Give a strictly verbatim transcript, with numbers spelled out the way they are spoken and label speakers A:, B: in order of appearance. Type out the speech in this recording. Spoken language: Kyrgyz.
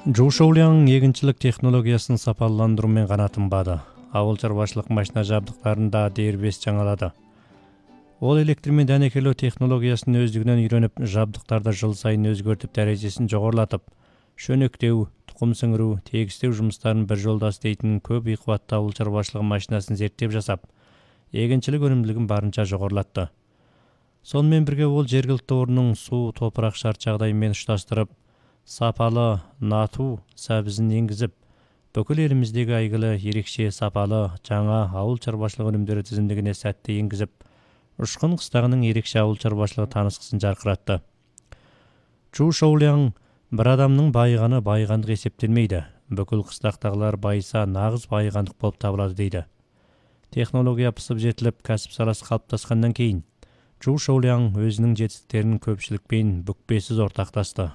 A: Чжоу Шоулиң эгинчилик технологиясын сапаландыруу менен гана тынбады. Абыл чарбачылык машина жабдыктарын да дербес жаңалады. Ол электр менен данекелөө технологиясын өздүгүнөн үйрөнүп, жабдыктарды жыл сайын өзгөртүп, дәрежесин жогорулатып, шөнөктөө, тукум сіңирүү, тегистөө жумуштарын бир жолдо істейтин көп ийкубаттуу абыл чарбачылык машинасын зерттеп жасап, эгинчилик өнүмдүүлүгүн барынча жогорулатты. Сонун менен бирге ол жергиликтүү ордунун суу, топурак шарт жагдайы менен ушташтырып, сапалы натуу сабизин энгизип, бүкүл элимиздеги айгылы эрекче сапалы жаңа абыл чарбачылык өнүмдөрү тизимдигине сәтти энгизип, Ушкун кыстагынын эрекче абыл чарбачылыгы тааныскысын жаркыратты. Чжоу Шоулиң бир адамдын байыганы байыгандык эсептелмейди. Бүкүл кыстактагылар байыса нагыз байыгандык болуп табылады дейди. Технология пысып жетилип, касып саласы калыптаскандан кийин Чжоу Шоулиң өзүнүн жетистиктерин көпчүлүк менен бүкпесиз ортакташты.